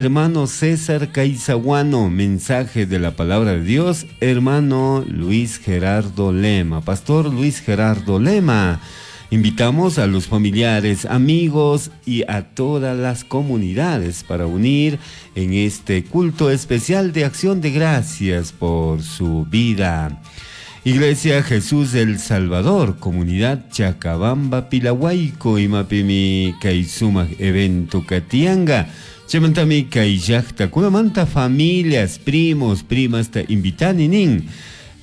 Hermano César Caizaguano, mensaje de la palabra de Dios, hermano Luis Gerardo Lema, pastor Luis Gerardo Lema. Invitamos a los familiares, amigos y a todas las comunidades para unir en este culto especial de acción de gracias por su vida. Iglesia Jesús el Salvador, Comunidad Chacabamba, Pilahuayco, Imapimi, Kaisumak, Evento Katianga. Chaymantami kay llaqtakunamanta familias, primos, primas ta invitani nin.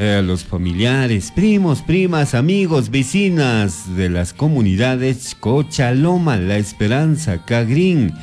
Los familiares, primos, primas, amigos, vecinas de las comunidades Cochaloma, La Esperanza, Cagrín,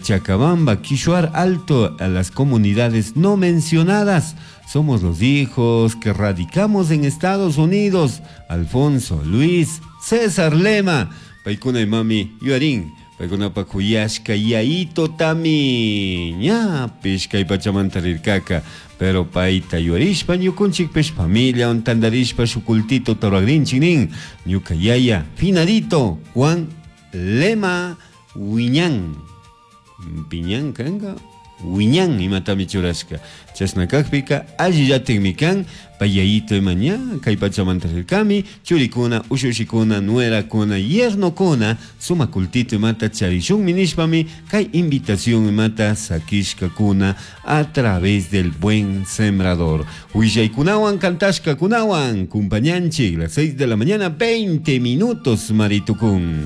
Chacabamba, Quishuar Alto, a las comunidades no mencionadas. Somos los hijos que radicamos en Estados Unidos. Alfonso, Luis, César Lema, Paykuna imami, Yuarín, paykunapaj kuyashka yayito tami ñapish kay pachamanta rirkaka, pero payta yuarishpa ñukunchikpish familiawan tandarishpa shuk cultito ruragrinchik nin, ñuka yaya finadito Juan Lema Wiñan, Piñan kanka, Wiñan imatami churashka, chashna kakpika allillatikmi kan, pay yayito ima ña kay pachamanta rirkami, churikuna, ushushikuna, nuerakuna, yernokuna, sumak cultito imata charishunmi nishpami kay invitación imata sakishkakuna a través del Buen Sembrador. Willaykunawan kantashkakunawan, kumpañanchik, las 6 de la mañana, 20 minutos, Maritukun.